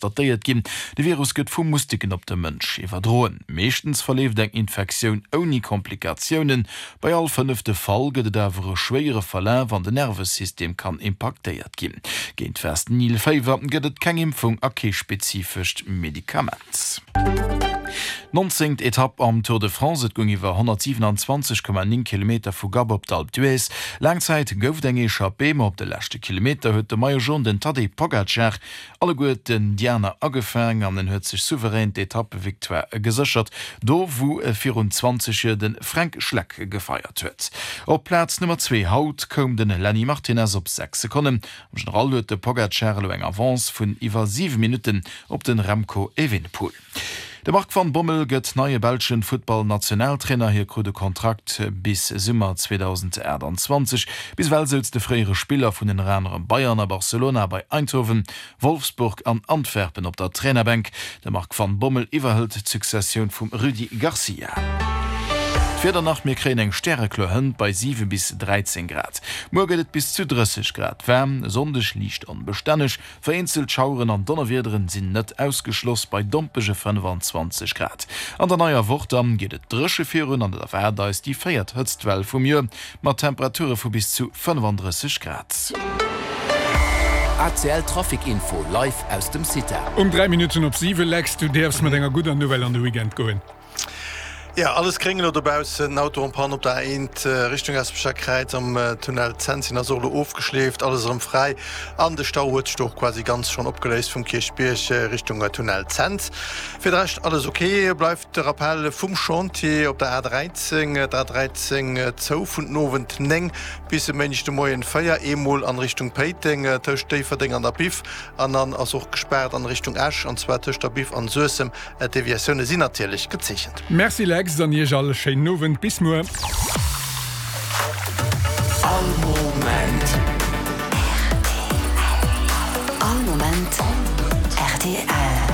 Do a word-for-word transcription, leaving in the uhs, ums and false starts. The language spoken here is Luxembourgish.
Datéiert ginn. De Virus gëtt vu Mustiken op de Mënsch iwwerdroen. Meeschtens verleeft eng Infektioun ouni Komplikatiounen. Bei all fënnefte Fall gëtt et awer e schwéiere Verlaf an den Nervesystem kann impaktéiert ginn. Géint West Nil Féiwer gëtt et keng Impfung a kee spezifescht Medikament. Nonzéngt Etapp am Tour de France, Et goung iwwer honnertsiwenanzwanzeg Komma néng Kilometer vu Gap op d'Alpe d'Huez. Laang Zäit gouf et eng Echappée, ma op de leschte Kilometer huet de Maillot Jaune, den Tadej Pogacar, alleguerten déi aner agefaang an en huet sech souverän d'Etappevictoire geséchert, do wou virun zwanzeg Joer de Fränk Schleck gefeiert huet. Op Plaz Nummer zwee haut koum de Lenny Martinez op sechs Sekonnen. Am General huet de Pogacar elo eng Avance vun iwwer siwe Minutten op de Remco Evenepoel. De Marc van Bommel gëtt neie belschen Futtball-Nationaltrainer. Hie krut e Kontrakt bis Summer zweedausendaachtanzwanzeg. Bis ewell souz de fréiere Spiller vun ënner anerem Bayern a Barcelona bei Eindhoven, Wolfsburg an Antwerpen op der Trainerbänk. De Marc van Bommel iwwerhëlt d'Successioun vum Rudi Garcia. D'Wieder nach, Mir kréien eng stärekloer Hënt bei siwe bis dräizéng Grad. Muer gëtt et bis zu drësseg Grad waarm, e Sonndeg liicht onbestänneg. Vereenzelt Schaueren an Donnerwiederen sinn net ausgeschloss bei dompege fënnefanzwanzeg Grad. An der neier Woch dann geet et dréche virun an et erwaart eis déi véiert Hëtztwell vum Joer mat Temperature vu bis zu fënnefandrësseg Grad. A C L Trafic Info live aus dem CITA. Um dräi Minutten op siwe, Lex, du däerfs mat enger gudder Nouvelle an de Weekend goen. Jo, alles gréng elo dobaussen. Den Auto en panne op der A eent Richtung Especher Kräiz am Tunnel Zenzin ass och elo ofgeschleeft, alles erëm fräi an de Stau huet sech do och quasi ganz schonn opgeléist vum Kierchbierg Richtung Tunnel Zens. Fir de Rescht alles ok. Bleift de Rappel vum Chantier op der A dräizéng, d'A dräizéng zou vun den Owend néng bis e Méindeg de Moien véier, eemol an Richtung Péiteng tëscht Déifferdeng an der Biff an dann ass och gespaart an Richtung Esch an zwar tëscht der Biff an Suessem. D'Deviatioune sinn natierlech gezeechent. Merci Lex, an iech all e schéinen Owend. Bis muer. All Moment. All Moment rtl.